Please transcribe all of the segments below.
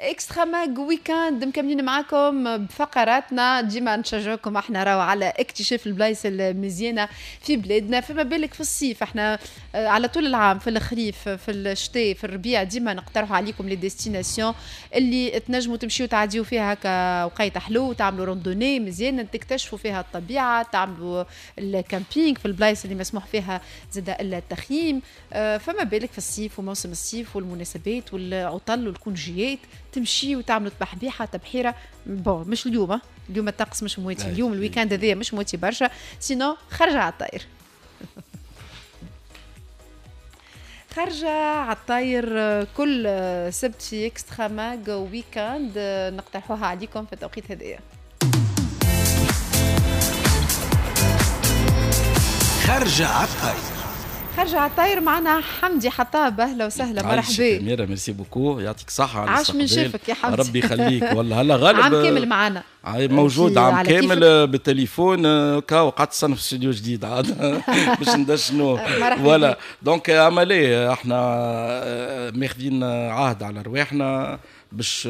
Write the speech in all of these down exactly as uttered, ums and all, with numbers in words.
Extra Mag Weekend مكملين معاكم بفقراتنا، ديما نشجعكم احنا راهو على اكتشاف البلايص المزيانه في بلادنا، فما بالك في الصيف. احنا على طول العام في الخريف في الشتاء في الربيع ديما نقترحوا عليكم les destinations اللي تنجموا تمشيو تعديو فيها هكا وقيت حلو، تعملوا randonnée مزيانه، تكتشفوا فيها الطبيعة، تعملوا ال camping في البلايص اللي مسموح فيها زاد التخييم. فما بالك في الصيف وموسم الصيف والمناسبات والعطل والكونجيات تمشي وتعملوا تبحبيحه تبحيره. bon مش اليوم، اليوم الطقس مش مواتي، اليوم ال week-end هذايا مش مواتي برشا، sinon خرجه على الطاير. خرجه على الطاير كل سبت في Extra Mag Weekend نقترحوها عليكم في التوقيت هذايا. خرجه على الطاير، خرجة على الطاير معنا حمدي حطاب. اهلا وسهلا، مرحبا. أميرة merci beaucoup، يعطيك الصحة على عاش من شافك يا حمدي، ربي يخليك. والله هلا غالب عام كامل معنا، موجود عام كامل بالتليفون كا وقعدت سنة في استوديو جديد عاد باش ندشنو voilà. donc عملية احنا ماخذين عهد على رواحنا باش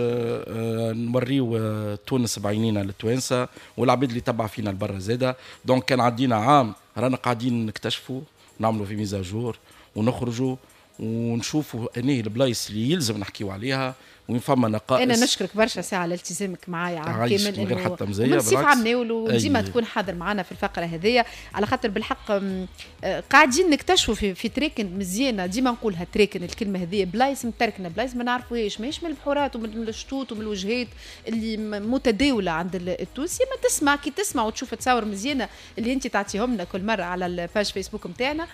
نوريو تونس بعينينا للتوانسه والعباد اللي تبع فينا لبرا زاده. donc كان عدينا عام رانا قاعدين نكتشفوا، نعملوا في mise à jour ونخرجوا ونشوفوا انهي البلايص اللي يلزم نحكيو عليها وين فما نقائص. انا نشكرك برشا ساعة على التزامك معايا عام كامل، من غير حتى مزية بالعكس، عام ناول وديما تكون حاضر معنا في الفقرة هذيا، على خاطر بالحق قاعدين نكتشفوا في, في تراكن مزيانه. ديما نقولها تراكن، الكلمة هذيا بلايص متركنه، بلايص ما نعرفوهاش، ماهيش من البحورات ومن الشطوط ومن الوجهات اللي متداوله عند التونسي. ما تسمع كي تسمع وتشوف تصاور مزيانه اللي انت تعطيهم لنا كل مرة على ال page Facebook نتاعنا،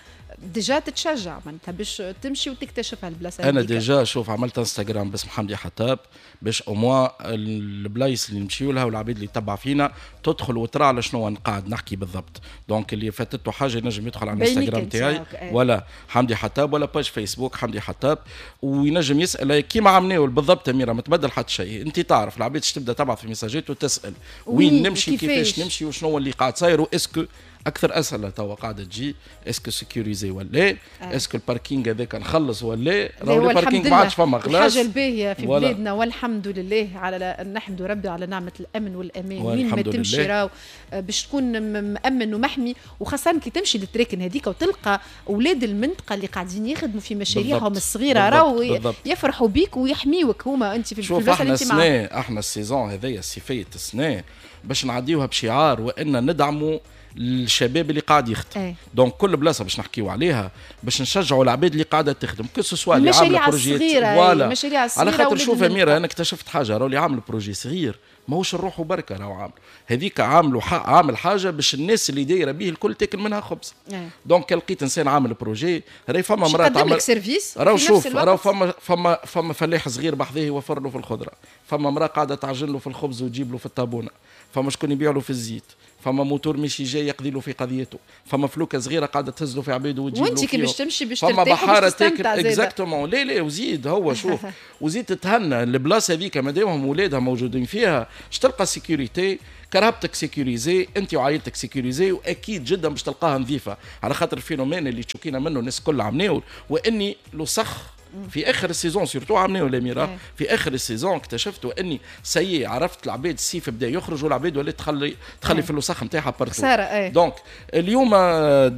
déjà تتشجع معناتها باش تمشي وتكتشفها البلاصة. انا déjà شوف عملت انستغرام باسم حمدي حطاب باش au moins البلايص اللي نمشيو لها والعباد اللي تبع فينا تدخل وترى على شنو قاعد نحكي بالضبط. donc اللي فاتته حاجة ينجم يدخل على الانستغرام تاعي ولا حمدي حطاب ولا page Facebook حمدي حطاب وينجم يسال كيما عملناه بالضبط. اميره ما تبدل حتى شيء، انت تعرف العباد تبدا تبعث في ميساجات وتسال وين نمشي، كيفاش نمشي، وشنو اللي قاعد صاير، و est-ce que اكثر اسئلة توا قاعدة تجي est-ce que sécurisé ولا est-ce que ال parking هذاك نخلص ولا راهو ال parking ما عادش فما خلاص. الحاجة الباهيه في بلادنا والحمد لله، على نحمد ربي على نعمه الامن والامان، وين ما تمشي راهو باش تكون مامن ومحمي، وخاصة كي تمشي للتراكن هذيك وتلقى اولاد المنطقة اللي قاعدين يخدموا في مشاريعهم الصغيرة راهو يفرحوا بيك ويحميوك هما. انت في البلاصة اللي انت معاهم. احنا ال saison هذايا الصيفية السنة باش نعديوها بشعار وان ندعموا الشباب اللي قاعد يخدم. أي. donc كل بلاصة باش نحكيو عليها باش نشجعوا العباد اللي قاعدة تخدم، que ce soit اللي عامله projet voilà المشاريع الصغيرة. على خاطر شوف اميره انا اكتشفت حاجة، راهو اللي عامل projet صغير ماهوش نروحوا بركة، راهو عامل هذيك عاملوا عامل حاجة باش الناس اللي دايرة به الكل تاكل منها خبز. أي. donc لقيت انسان عامل projet راهي فما مراة تعمل service، راهو شوف راهو فما فما فما فلاح صغير بحذاه يوفر له في الخضرة، فما مراة قاعدة تعجن له في الخبز وتجيب له في الطابونه، فما شكون يبيع له في الزيت، فما موتور مشي جاي يقضي له في قضيته، فما فلوكه صغيرة قاعدة تهز له في عباده وتجيب له، وانت كي باش تمشي باش ترتاح فما بحارة تاكل exactement. لا لا وزيد هو شوف وزيد تتهنى البلاصة هذيك مادامهم ولادها موجودين فيها باش تلقى sécurité، كرهبتك sécurisée، انت وعائلتك sécurisés، واكيد جدا باش تلقاها نظيفة. على خاطر ال phénomène اللي تشوكينا منه الناس الكل عمناول واني لوسخ في اخر ال saison surtout عملناه الاميرة في اخر ال saison اكتشفت واني ça y est عرفت العباد الصيف بدا يخرج والعباد ولات تخلي تخلي في الوسخ نتاعها partout. خسارة. donc اليوم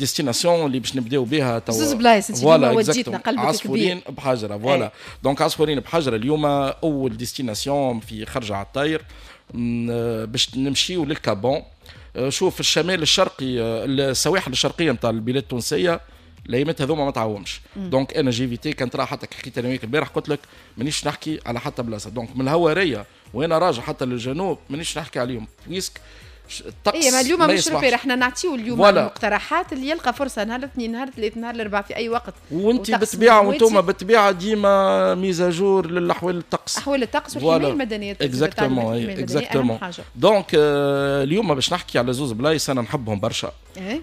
destination اللي باش نبداو بها توا زوز بلايص انت وديتنا قلبك عصفورين بحجره. voilà donc عصفورين بحجره اليوم اول destination في خرجه على الطاير باش نمشيو لل Cap Bon. شوف الشمال الشرقي السواحل الشرقية نتاع البلاد التونسية الايامات هذوما ما تعومش. donc انا j'évitais كان ترى حتى حكيت انا وياك البارح قلت لك مانيش نحكي على حتى بلاصة. donc من الهواريه وانا راجع حتى للجنوب مانيش نحكي عليهم puisque الطقس. اي ما اليوم مش repère، احنا نعطيو اليوم المقترحات اللي يلقى فرصة نهار الاثنين نهار الثلاث نهار الاربعاء في اي وقت. وانت بالطبيعة وانتم بالطبيعة ديما mise à jour للاحوال الطقس، احوال الطقس والحماية المدنية. exactement exactement. donc اليوم باش نحكي على زوز بلايص انا نحبهم برشا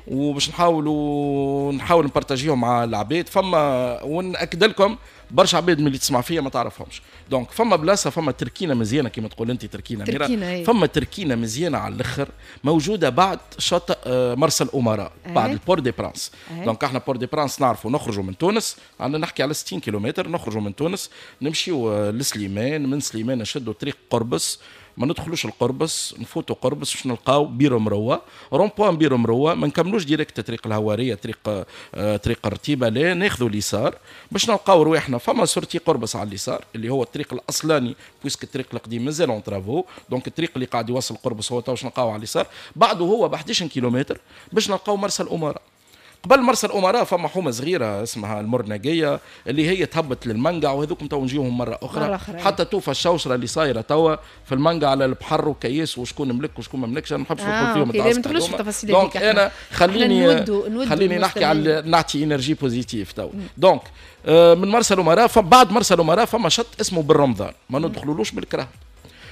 وباش نحاولوا نحاول نبارتاجيهم مع العباد. فما ونأكد لكم برشا عباد من اللي تسمع فيا ما تعرفهمش. donc فما بلاصة، فما تركينه مزيانه كما تقول انت، تركينه ميرا، فما تركينه مزيانه على الاخر موجودة بعد شاطئ مرسى الامراء، بعد ال Port des Princes. donc احنا Port des Princes نعرفوا نخرجوا من تونس، عندنا نحكي على ستين كيلومتر، نخرجوا من تونس نمشيو لسليمان، من سليمان نشدوا طريق قربص، ما ندخلوش القربص، نفوتوا قربص باش نلقاو بيرو مروه، rond-point بيرو مروه، ما نكملوش direct طريق الهواريه، طريق آه طريق الرتيبه، لا ناخذوا اليسار باش نلقاو رواحنا فما sortie قربص على اليسار اللي هو الطريق الاصلاني، puisque الطريق القديم مازال en travaux. donc الطريق اللي قاعد يوصل قربص هو تو باش نلقاو على اليسار، بعده هو ب احداش كيلومتر باش نلقاو مرسى الامراء. قبل مرسى الامراء فما حومه صغيرة اسمها المرنقيه اللي هي تهبط للمنقع، وهذوكم تو نجيوهم مرة اخرى, مرة أخرى. حتى توفى الشوشره اللي صايرة توا في المنقع على البحر وكياس وشكون ملك وشكون ما ملكش، انا ما نحبش ندخل آه فيهم. ما ندخلوش في التفاصيل. donc انا خليني نودو نودو خليني نحكي على نعطي énergie positive تو. donc آه من مرسى الامراء، بعد مرسى الامراء فما شط اسمه بالرمضان، ما ندخلولوش بالكره.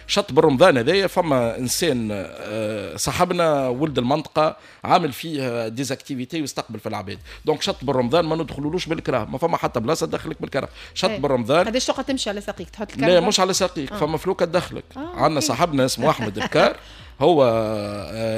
شط بالرمضان هذايا فما انسان صاحبنا ولد المنطقة عامل فيه des activités ويستقبل في العباد. donc شط بالرمضان ما ندخلولوش بالكراه، ما فما حتى بلاصة تدخلك بالكراه. شط بالرمضان قداش تقعد تمشي على ساقيك تحط الكرهبه؟ لا مش على ساقيك، آه. فما فلوكه تدخلك. آه. عندنا صاحبنا اسمه احمد الكار، هو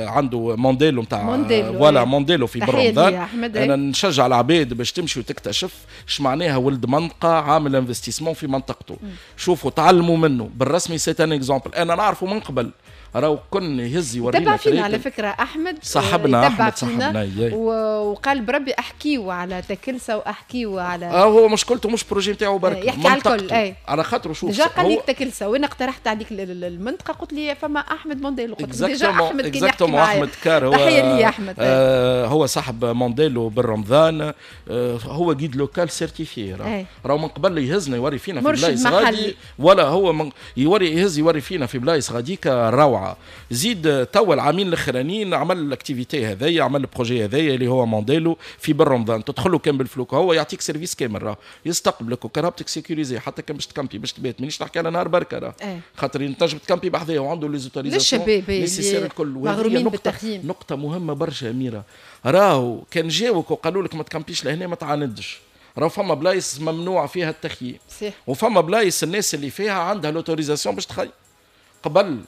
عنده مونديلو نتاع voilà مونديلو في بالرمضان. انا نشجع العباد باش تمشي وتكتشف اش معناها ولد منطقة عامل investissement في منطقته. م. شوفوا تعلموا منه بالرسمي، c'est un exemple. انا نعرفه من قبل، راهو كن يهز يورينا. تبع فينا على فكرة احمد، صاحبنا احمد صاحبنا، وقال بربي احكيو على تكلسه واحكيو على اه هو مشكلته مش projet نتاعو برك، يحكي على الكل. اي على خاطره شوف déjà قال لك تكلسه، وانا اقترحت عليك المنطقة قلت لي فما احمد مونديلو، قلت déjà احمد كان يحكي معايا. احمد كار هو تحية لي احمد. آه هو صاحب مونديلو بالرمضان، آه هو guide local certifié، راهو من قبل يهزنا يوري فينا في بلايص غادي، ولا هو من يوري يهز يوري فينا في بلايص غاديك روعه. زيد توا العامين الاخرانيين عمل ال activité هذايا، عمل ال projet هذايا اللي هو مونديلو في بالرمضان، تدخلوا كان بالفلوك، هو يعطيك service كامل، راه يستقبلك وكرهبتك sécurisée، حتى كان باش تكامبي باش تبات، مانيش نحكي على نهار بركة راه، خاطر تنجم تكامبي بحذاه وعنده les autorisations nécessaires الكل. وهذه نقطة نقطة مهمة برشا اميره، راهو كان جاوك وقالوا لك ما تكامبيش لهنا ما تعاندش، راهو فما بلايص ممنوع فيها التخييم، وفما بلايص الناس اللي فيها عندها l'autorisation باش تخيم. قبل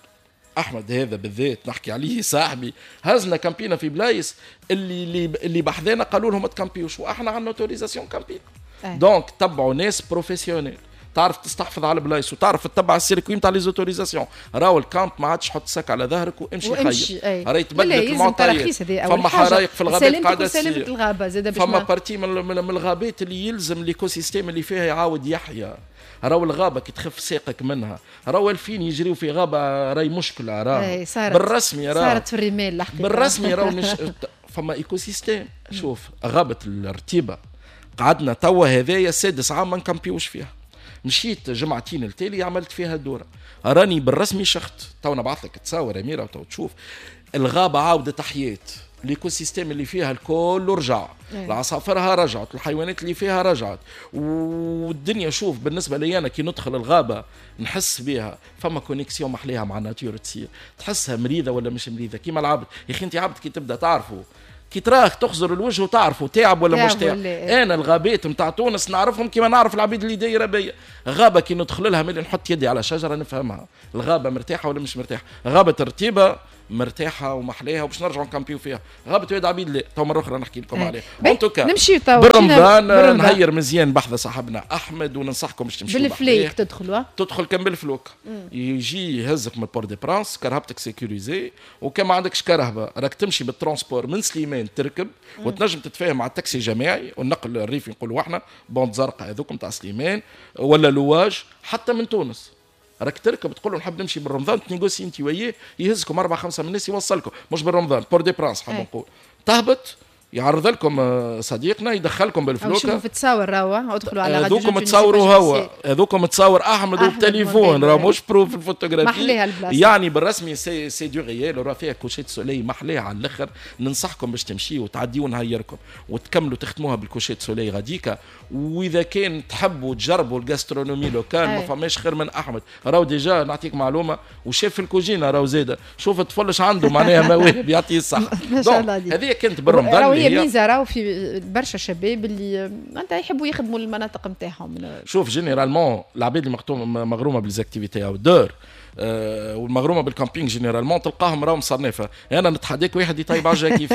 احمد هذا بالذات نحكي عليه صاحبي، هزنا كامبينا في بلايص اللي اللي اللي بحذانا قالوا لهم ما تكامبيوش، واحنا عندنا autorisation كامبينا. donc تبعوا ناس professionnels، تعرف تستحفظ على البلايص وتعرف تتبع ال circuit نتاع les autorisations. راهو ال camp ما عادش حط sac على ظهرك وامشي خيم، راهي تبدلت المعطيات. فما حرايق في الغابات قاعدة تصير، الغابة زاد فما partie من, من الغابات اللي يلزم l'écosystème اللي فيها يعاود يحيا. راهو الغابة كي تخف ساقك منها، راهو الفين يجريو في غابه راهي مشكلة، راهو بالرسمي راهو صارت في الرمال الحقيقة بالرسمي راهو مش فما écosystème. شوف غابه الرتيبه قعدنا توا هذايا سادس عام ما نكامبيوش فيها، مشيت جمعتين التالي عملت فيها دوره، راني بالرسمي شخت. تو نبعث لك تصاور اميره وتو تشوف الغابة عاودت حيات، l'écosystème اللي فيها الكل رجع، العصافرها رجعت، الحيوانات اللي فيها رجعت، والدنيا. شوف بالنسبة لي انا كي ندخل الغابة نحس بها فما connexion محليها مع ال nature تصير، تحسها مريضه ولا مش مريضه. كيما العبد يا اخي، انت عبد كي تبدا تعرفه كي تراه تخزر الوجه وتعرفه تعب ولا مش تعب. انا الغابات نتاع تونس نعرفهم كيما نعرف العبيد اللي دايرة بيا. غابه كي ندخل لها ملي نحط يدي على شجرة نفهمها الغابة مرتاحة ولا مش مرتاحة. غابه الرتيبه مرتاحة ومحليها وباش نرجعوا نكامبيو فيها. غابه واد عبيد لا، تو مرة اخرى نحكي لكم عليها. en tout cas نمشيو تو بالرمضان نهير مزيان بحذا صاحبنا احمد، وننصحكم باش تمشيو بالفليك. تدخلوا تدخل كان بالفلوك، يجي يهزك من Port des Princes، كرهبتك sécurisée، وكان ما عندكش كرهبه راك تمشي بال transport من سليمان تركب، مم. وتنجم تتفاهم مع التاكسي الجماعي والنقل الريفي نقولوا احنا bande زرقاء هذوك نتاع سليمان ولا لواج حتى من تونس. راك تركب تقول له نحب نمشي بالرمضان، تنيغوسي انت وياه، يهزكم اربعة خمسة من الناس يوصلكم، مش بالرمضان Port des Princes حاب نقول. تهبط يعرض لكم صديقنا يدخلكم بالفلوكه. شوفوا في تصاور راهو، ادخلوا على هذوكم تصوروا هو، هذوكم تصور احمد وبتليفون، راه مش pro في الفوتوغرافي. محليها البلاصة يعني بالرسمي c'est c'est du réel، راه فيها coucher de soleil محليها على الاخر. ننصحكم باش تمشيوا وتعديوا نهيركم وتكملوا تختموها بال coucher de soleil غاديكا. واذا كان تحبوا تجربوا ال gastronomie locale ما فماش خير من احمد، راهو déjà نعطيك معلومة وشاف في الكوجينه راهو زاده، شوف الطفل اش عنده معناها مواهب يعطيه الصحة. ما شاء الله عليك. هذه كانت بالرمضان. وهي ميزة راهو في برشا شباب اللي انت يحبوا يخدموا المناطق نتاعهم. شوف généralement العباد اللي مغرومه ب les activités outdoor آه والمغرومه بال camping généralement تلقاهم راهم صنافه. انا نتحداك واحد يطيب عجة كيف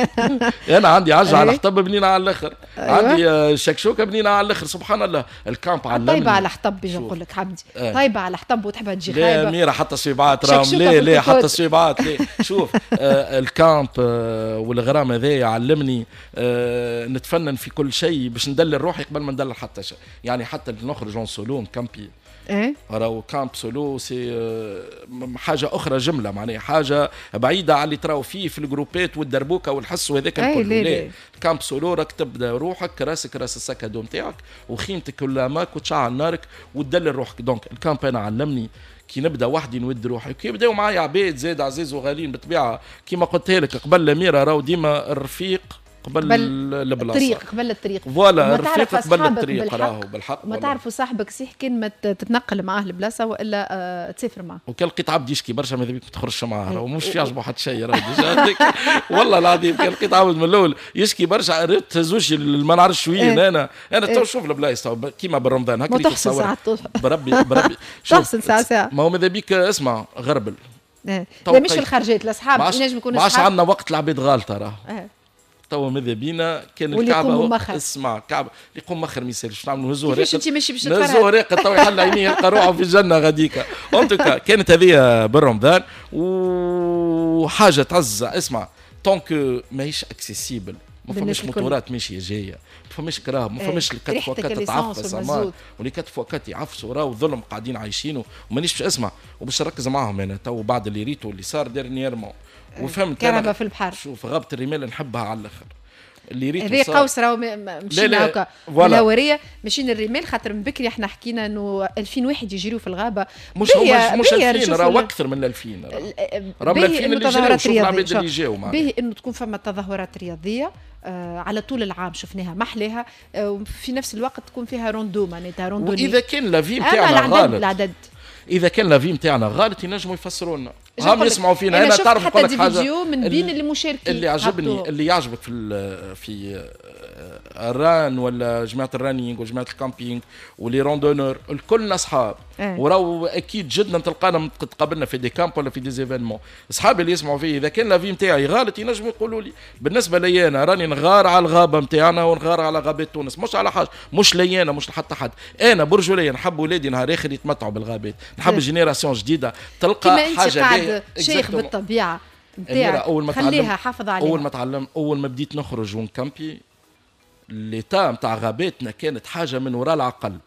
انا عندي عجة على حطب بنينه على الاخر. أيوة. عندي آه، شكشوكه بنينه على الاخر، سبحان الله. ال camp علمني طيبة على حطب، بيجي نقول لك حمدي آه. طيبة على حطب وتحبها تجي خايبة. لا ميرا حتى الصبيعات راهم لا لا حتى الصبيعات لا. شوف آه ال camp آه والغرام هذايا علمني آه نتفنن في كل شيء باش ندلل روحي قبل ما ندلل حتى شيء. يعني حتى نخرج en solo نكامبي، ايه راهو camp solo c'est آه، حاجة اخرى جمله، معناها حاجة بعيدة على اللي تراو فيه في الجروبات والدربوكه والحس وهذاك الكل. لا camp solo راك تبدا روحك راسك راس ال sac à dos نتاعك وخيمتك ولا ماك وتشعل نارك وتدلل روحك. donc ال camp انا علمني كي نبدا وحدي نود روحي، كي يبداو معايا عباد زاد عزيز وغاليين بالطبيعة كيما قلت لك قبل الاميرة راهو ديما الرفيق قبل البلاصة، الطريق قبل الطريق. voilà الرفيق قبل الطريق راهو بالحق. ما تعرفوا صاحبك صح كان ما تتنقل معاه البلاصة والا آه تسافر معاه. وكان لقيت عبد يشكي برشا ماذا بيك ما تخرجش معاه، راهو مش يعجبه حتى شيء راهو déjà. والله العظيم كان لقيت عبد من الاول يشكي برشا ريت تهزوش ما نعرفش وين. انا انا تو شوف البلايص كيما بالرمضان هكا تحصل بربي بربي تحصل ساعة ساعة. ما هو ماذا بيك اسمع غربل. لا مش الخرجات الاصحاب ينجم يكونوا ما عادش عندنا وقت العباد غالطه راه. توا ماذا بينا كان الكعبة اسمع كعبه اللي يقوم مخر ما يسالش نعملوا نهزوه راقد. كيفاش انت ماشي باش تفرهد؟ نهزوه راقد تو يحل عينيه يلقى روحه في الجنة غاديكا. en tout cas كانت هذه بالرمضان وحاجه تعز. اسمع tant que ماهيش accessible، ما فماش موتورات ماشية جاية، ما فماش كراهب، ما فماش ال quatre fois quatre تتعفس و les quatre fois quatre يعفسوا راهو ظلم قاعدين عايشينه. ومانيش باش اسمع وباش نركز معاهم انا تو بعد اللي ريتو اللي صار dernièrement وفهمت كرهبه في البحر. شوف غابه الرمال نحبها على الاخر اللي ريتو هذه قوس راهو مشينا هكا الهواريه ماشيين الرمال، خاطر من بكري احنا حكينا انه ألفين واحد يجريو في الغابة. مش هو مش ألفين راهو اكثر من ألفين، راهو من ألفين اللي جراو. شوف العباد اللي جاو معنا. باهي انه تكون فما تظاهرات رياضية آه على طول العام شفناها محلاها، آه وفي نفس الوقت تكون فيها rando معناتها randonnée. واذا كان l'avis نتاعنا غلط، العدد اذا كان l'avis نتاعنا غلط ينجموا يفسروا لنا. هم يسمعوا فينا. انا تعرف نقول لك حاجة من بين المشاركين اللي عجبني اللي يعجبك في في ال run ولا جماعة ال running وجماعه ال camping و les randonneurs الكل اصحاب. اه. وراو اكيد جدا تلقانا تقابلنا في des camps ولا في des événements. اصحابي اللي يسمعوا فيه اذا كان l'avis نتاعي غلط ينجموا يقولوا لي. بالنسبة لي انا راني نغار على الغابة نتاعنا ونغار على غابات تونس، مش على حاجة، مش لي انا مش لحتى حد. انا برجولية نحب ولادي نهار اخر يتمتعوا بالغابات، نحب génération جديدة تلقى حاجة شيخ بالطبيعة نتاعك. اول ما خليها حافظ عليها. اول ما تعلم اول ما بديت نخرج ونكامبي l'état نتاع غاباتنا كانت حاجة من وراء العقل.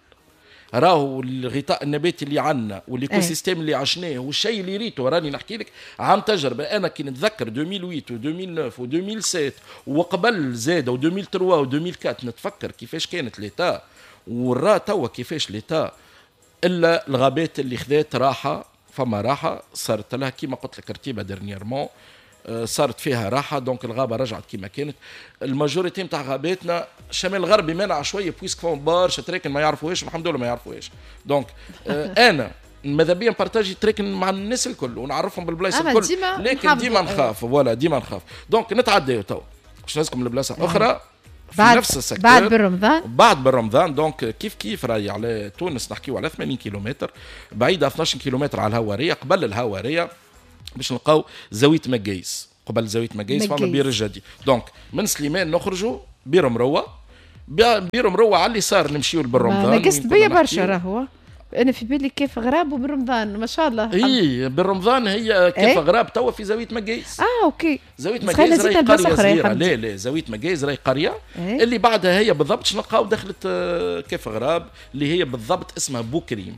راهو الغطاء النباتي اللي عندنا وال écosystème اللي عشناه والشيء اللي ريته، راني نحكي لك عن تجربه. انا كي نتذكر ألفين وثمانية و ألفين وتسعة و ألفين وسبعة وقبل زاد و ألفين وثلاثة و ألفين وأربعة نتفكر كيفاش كانت l'état ورا توا كيفاش l'état. الا الغابات اللي خذات راحة، فما راحة صارت لها كيما قلت لك رتيبه dernièrement صارت فيها راحة. donc الغابة رجعت كيما كانت. ال majorité نتاع غاباتنا الشمال الغربي منع شوية puisque فما برشا تراكن ما يعرفوهاش الحمد لله ما يعرفوهاش. donc انا ماذا بيا نبارتاجي تراكن مع الناس الكل ونعرفهم بالبلايص الكل، لكن ديما نخاف voilà ديما نخاف. donc نتعداو تو باش نهزكم لبلاصه اخرى في بعد نفس ال secteur بعد بالرمضان. بعد بالرمضان donc كيف كيف راهي على تونس نحكيو على ثمانين كيلومتر بعيدة اثناش كيلومتر على الهواريه. قبل الهواريه باش نلقاو زاوية مقايس، قبل زاوية مقايس فما بير الجدي. donc من سليمان نخرجوا بير مروه، بير مروه على اليسار نمشيو لبالرمضان. نقصت بيا برشا راهو انا في بالي كيف غراب وبالرمضان ما شاء الله. اي بالرمضان هي كيف إيه؟ غراب توا في زاوية مقايس. اه OK زاوية مقايس راهي قرية صغيرة. لا لا زاوية مقايس راهي قرية إيه؟ اللي بعدها هي بالضبط نلقاو دخلت كيف غراب اللي هي بالضبط اسمها بوكريم،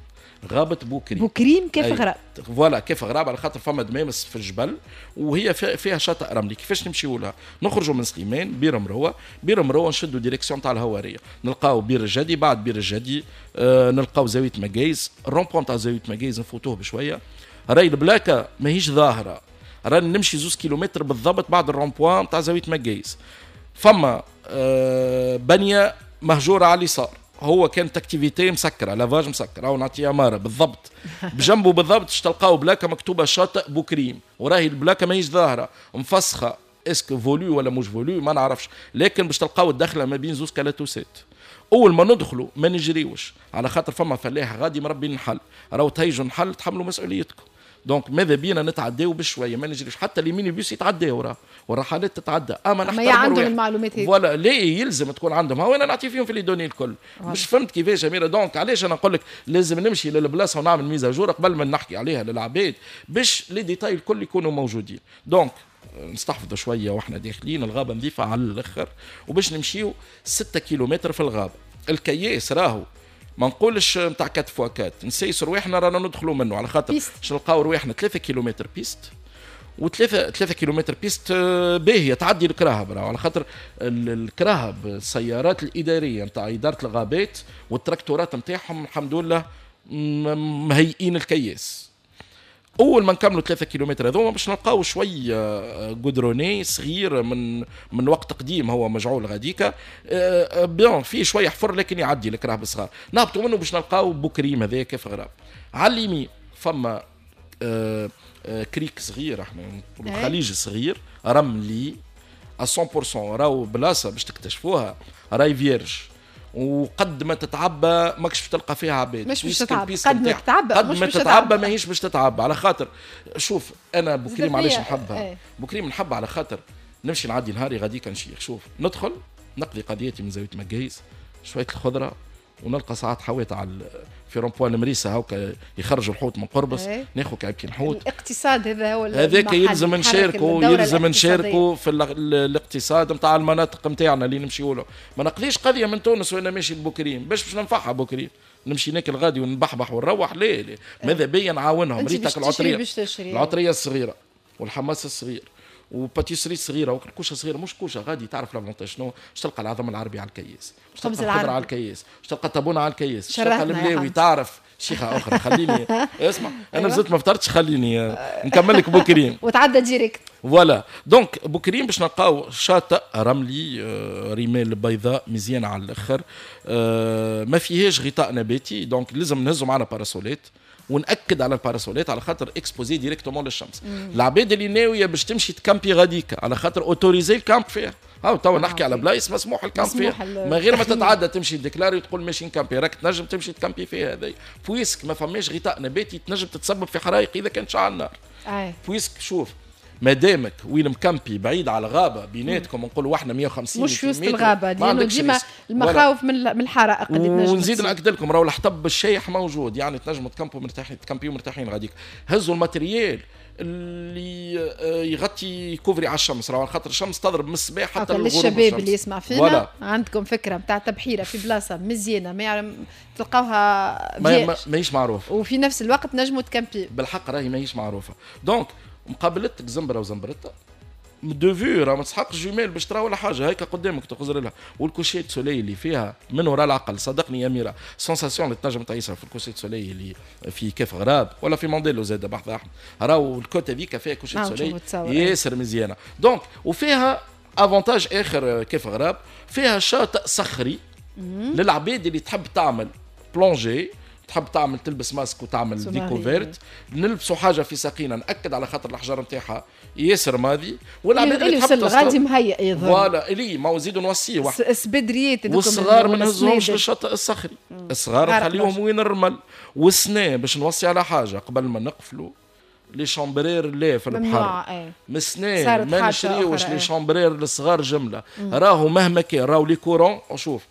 غابة بوكريم. بوكريم كيف غراب voilà كيف غراب على خاطر فما دمامس في الجبل وهي فيها شاطئ رملي. كيفاش نمشيو لها؟ نخرجوا من سليمان بير مروه، بير مروه نشدوا direction تاع الهواريه نلقاو بير الجدي. بعد بير الجدي آه نلقاو زاوية مقايز، ال rond-point تاع زاوية مقايز نفوتوه بشوية. راي البلاكه ماهيش ظاهره، راني نمشي زوز كيلومتر بالضبط بعد ال rond-point تاع زاوية مقايز فما آه بنيه مهجورة على اليسار. هو كانت activité مسكره، lavage مسكره، ونعطيه اماره بالضبط بجنبه بالضبط تلقاو بلاكه مكتوبة شاطئ بوكريم، وراهي البلاكه ماهيش ظاهره مفسخه. est-ce que voulu ولا مش voulu ما نعرفش، لكن باش تلقاو الدخلة ما بين زوز كالاتوسات. اول ما ندخلوا ما نجريوش، على خاطر فما فلاح غادي مربي النحل، راهو تهيجوا نحل تحملوا مسؤوليتكم. donc ماذا بينا نتعداو بشوية، ما نجريش، حتى les minibus يتعداو راه والرحلات تتعدى، اما نحترموا عندهم المعلومات هذه. voilà ليه يلزم تكون عندهم، هو انا نعطي فيهم في les données الكل. مش فهمت كيفاش اميره؟ donc علاش انا نقول لك لازم نمشي للبلاصه ونعمل mise à jour قبل ما نحكي عليها للعباد باش les détails الكل يكونوا موجودين. donc نستحفظوا شوية واحنا داخلين الغابة نظيفة على الاخر، وباش نمشيو ستة كيلومتر في الغابة. الكياس راهو ما نقولش نتاع quatre fois quatre، نسيس رواحنا رانا ندخلوا منه، على خاطر باش نلقاو رواحنا ثلاثة كيلومتر piste، وثلاثة ثلاثة كيلومتر piste باهية تعدي الكراهب، على خاطر الكراهب السيارات الإدارية نتاع إدارة الغابات والتراكتورات نتاعهم الحمد لله مهيئين الكياس. اول ما نكملوا ثلاثة كيلومتر هذوما باش نلقاو شوية goudronné صغير من من وقت قديم هو مجعول غاديكا، bien فيه شوية حفر لكن يعدي الكراهب الصغار. نهبطوا منه باش نلقاو بوكريم هذاك كيف غراب. على اليمين فما crique صغير، احنا نقولوا خليج صغير رملي مية بالمية، راهو بلاصة باش تكتشفوها راي vierge، وقد ما تتعبى ماكش باش تلقى فيها عباد. مش باش تتعبى، قد ما تتعبى قد ما تتعبى ماهيش باش تتعبى. على خاطر شوف انا بوكريم علاش نحبها؟ ايه. بوكريم نحبها على خاطر نمشي نعدي نهاري غاديك نشيخ. شوف ندخل نقضي قضيتي من زاوية مقايس شوية الخضرة، ونلقى ساعات حويت على في rond-point المريسه هاكا يخرجوا الحوت من قربص، ايه. ناخذ كعبتين حوت. الاقتصاد هذا هو هذاك يلزم نشاركوا، يلزم نشاركوا في الاقتصاد نتاع المناطق نتاعنا اللي نمشيو له. ما نقضيش قضية من تونس وانا ماشي لبوكريم باش باش ننفعها بوكريم، نمشي ناكل غادي ونبحبح ونروح. ليه ليه؟ ماذا بيا نعاونهم. ريتك العطريه، العطريه الصغيرة والحماس الصغير و pâtisserie صغيرة وكوشه صغيرة، مش كوشة غادي تعرف l'avantage شنو، باش تلقى العظم العربي على الكياس، باش تلقى الخضرة على الكياس، باش تلقى الطابونه على الكياس، باش تلقى الملاوي. تعرف شيخه اخرى خليني اسمع انا مازلت ما فطرتش، خليني نكمل لك بوكريم وتعدى direct. voilà donc بوكريم باش نلقاو شاطئ رملي، رمال بيضاء مزيانه على الاخر، ما فيهاش غطاء نباتي، donc لازم نهزوا معنا parasol ات، ونأكد على ال parasol ات على خاطر exposés directement للشمس. العباد اللي ناوية باش تمشي تكامبي غاديكا على خاطر autorisé ال camp فيها، هاو توا نحكي على بلايص مسموح ال camp فيها، من غير ما تتعدى تمشي déclarer وتقول ماشي نكامبي، راك تنجم تمشي تكامبي فيها هذايا، puisque ما فماش غطاء نباتي تنجم تتسبب في حرايق اذا كان شعل النار. puisque شوف مادامك وين مكامبي بعيد على الغابة بيناتكم نقولوا احنا مية وخمسين مش في وسط الغابة، لانه ديما المخاوف من الحرائق اللي تنجم. ونزيد ناكد لكم راهو الحطب الشايح موجود، يعني تنجموا تكامبوا مرتاحين، تكامبيو مرتاحين غاديك. هزوا ال matériel اللي يغطي couvrir على الشمس، راهو خاطر الشمس تضرب من الصباح حتى للغروب. للشباب اللي يسمع فينا voilà. عندكم فكرة نتاع تبحيره في بلاصة مزيانه ما يعلم تلقاوها ما ماهيش معروفة، وفي نفس الوقت نجموا تكامبي بالحق راهي ماهيش معروفة. donc مقابلتك زنبره وزنبرتها de vue، راه ما تسحقش jumelles باش ترى ولا حاجة، هيك قدامك تخزر لها. وال coucher de soleil اللي فيها من وراء العقل، صدقني يا ميرا sensation اللي تنجم تعيشها في ال coucher de soleil اللي في كيف غراب ولا في مونديلو زاد بحث احمد، راهو ال côte هذيك فيها coucher de soleil ياسر مزيانه. donc وفيها avantage اخر كيف غراب، فيها شاطئ صخري للعباد اللي تحب تعمل plongée، تحب تعمل تلبس ماسك وتعمل découverte، نلبسوا حاجة في ساقينا، ناكد على خاطر الحجر نتاعها ياسر ماضي، والعباد اللي تحب غادي مهيئ يظهر voilà اللي ما نزيدوا نوصيه واحد السبدريات والصغار ما نهزوهمش للشاطئ الصخري، الصغار نخليهم وين الرمل. والسنة باش نوصي على حاجة قبل ما نقفلوا les chambres à air لا في البحر، مسناه ما نشريوش les chambres à air للصغار جملة، راهو مهما كان راهو les courants. شوف